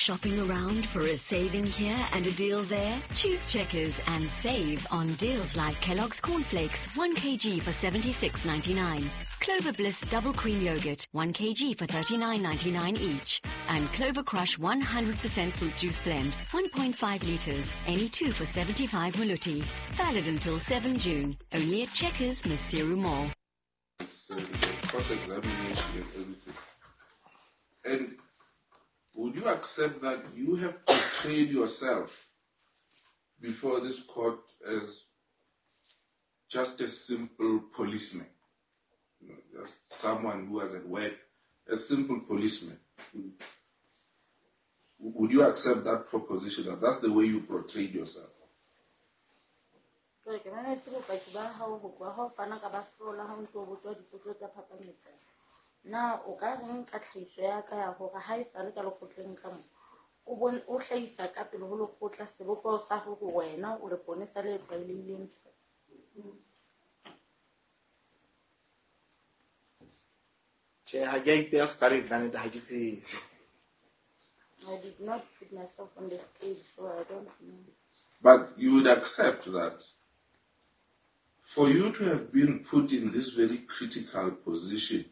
Shopping around for a saving here and a deal there? Choose Checkers and save on deals like Kellogg's Cornflakes, 1 kg for 76.99, Clover Bliss Double Cream Yogurt, 1 kg for 39.99 each, and Clover Crush 100% Fruit Juice Blend, 1.5 liters, any two for 75 maluti. Valid until 7 June, only at Checkers, Maseru Mall. It's cross-examination and everything. And would you accept that you have portrayed yourself before this court as just a simple policeman? You know, just someone who was at work, a simple policeman. Would you accept that proposition, that that's the way you portrayed yourself? Jwale ke mametse bopaki ba hao ho tloha ha o fana ka ba hlola ha o ntso o botswa dipotso tsa phapanyetsano. Na o ka reng ka tlhahiso ya ka ya hore ha e sale ka lekgotleng ka mo o bon o hlahisa ka pele ho lekgotla sebopeho sa hore wena o leponesa le tlwaelehileng? Tjhe, ha ke a ipeha sekaleng ka nnete, ha ke tsebe. I did not put myself on the scale, so I don't know. But you would accept that for you to have been put in this very critical position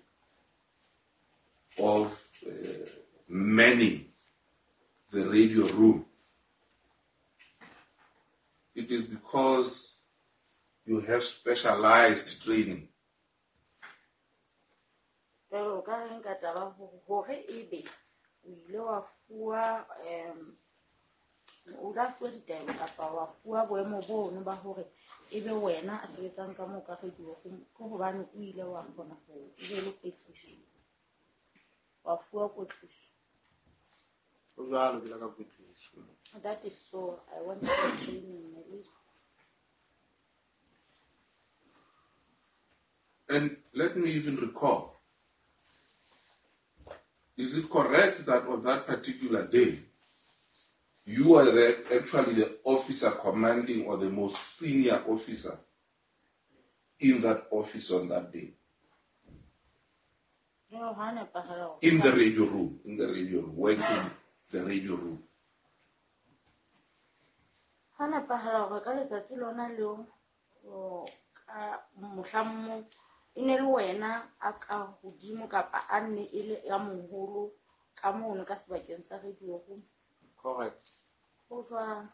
of manning the radio room, it is because you have specialized training. Jwale o ka reng ka taba hore ebe o ile wa fuwa, o la fuwa ditaelo kapa wa fuwa boemo bono ba hore ebe wena a sebetsang ka moo ka radio room, ke hobane o ile wa kgona ho o be le kwetliso, wa fuwa kwetliso? Ho jwalo, ke la ka kwetliso. That is so. I went for training, my lady. And let me even recall, is it correct that on that particular day, you are actually the officer commanding or the most senior officer in that office on that day? No, ha nepahala hore In the radio room, in the radio room, working the radio room. Ha nepahala hore ka letsatsi lona leo, o, ka mohlang moo, e ne le wena a ka hodimo kapa a nne e le ya moholo ka mono ka sebakeng sa radio room? Correct. Ho jwang?